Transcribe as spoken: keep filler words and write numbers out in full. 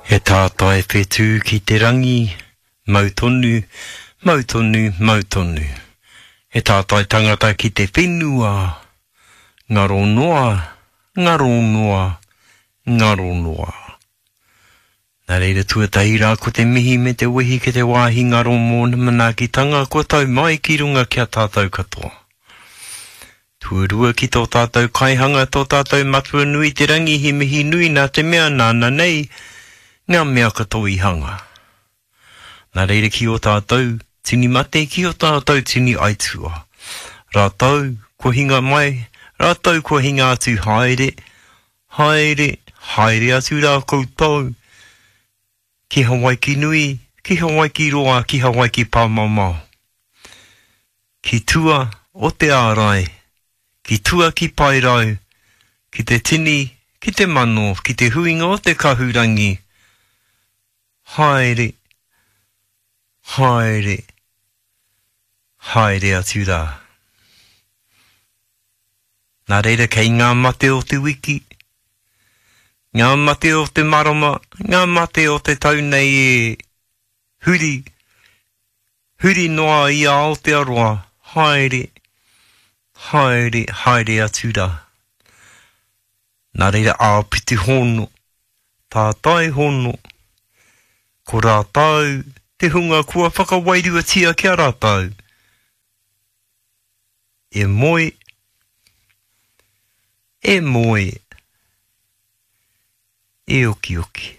He tātai whetū ki te rangi, mau tonu, mau tonu, mau tonu. He tātai tangata ki te whenua, ngaro noa, ngaro noa, ngaro noa. Nā reira tuatahi rā ko te mihi me te wehi ki te wāhi ngaro mōna manaakitanga kua tau mai ki runga ki a tātou katoa. Tuarua ki tō tātou kaihanga, tō tātou matua nui te rangi he mihi nui nā te mea nāna nei ngā mea katoa i hanga. Nā reira ki o tātou tini mate, ki o tātou tini aitua. Rātou kua hinga mai, rātou kua hinga atu haere, haere, haere atu rā koutou, ki Hawaiki nui, ki Hawaiki roa, ki Hawaiki pāmamao. Ki tua o te ārai, ki tua ki Paerau, ki te tini, ki te mano, ki te huinga o te kahurangi, haere, haere, haere atu rā. Nā reira kei ngā mate o te wiki, ngā mate o te marama, ngā mate o te tau nei e huri, huri noa i a Aotearoa, haere, haere, haere atu rā. Nā reira āpiti hono, tātai hono, ko rātou te hunga kua whakawairuatia ki a rātou. E moe, e moe, e okioki.